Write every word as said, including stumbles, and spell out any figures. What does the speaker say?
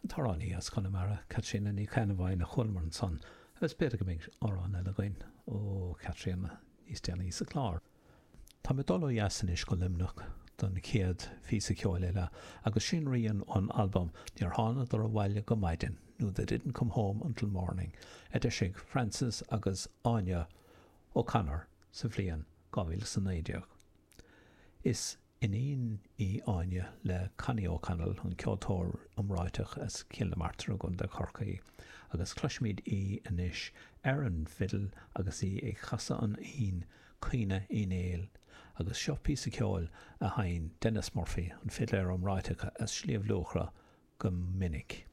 An t-amhránaí as Conamara, Caitríona Ní Cheannabháin a chualamar ansan, agus b'fhéidir go mbeidh amhrán eile againn ó Chaitríona níos déanaí sa chlár. Tá mé ag dul ó dheas anois go Luimneach don chéad phíosa ceoil eile agus sin rian ón albam Níor Thánadar Abhaile go Maidin nó They Didn't Come Home Until Morning a d'eisigh Francis agus Áine O'Connor sa bhliain dhá mhíle is a naoi déag. Is iníon í Áine le Connie O'Connell, an ceoltóir iomráiteach as Cill na Martra i gContae Chorcaí, agus cloisfimid í anois ar an bhfidil agus í ag casadh an fhoinn Caoineadh Uí Néill, agus seo píosa ceoil a sheinn Denis Murphy, an fidléir iomráiteach as Sliabh Luachra, go minic.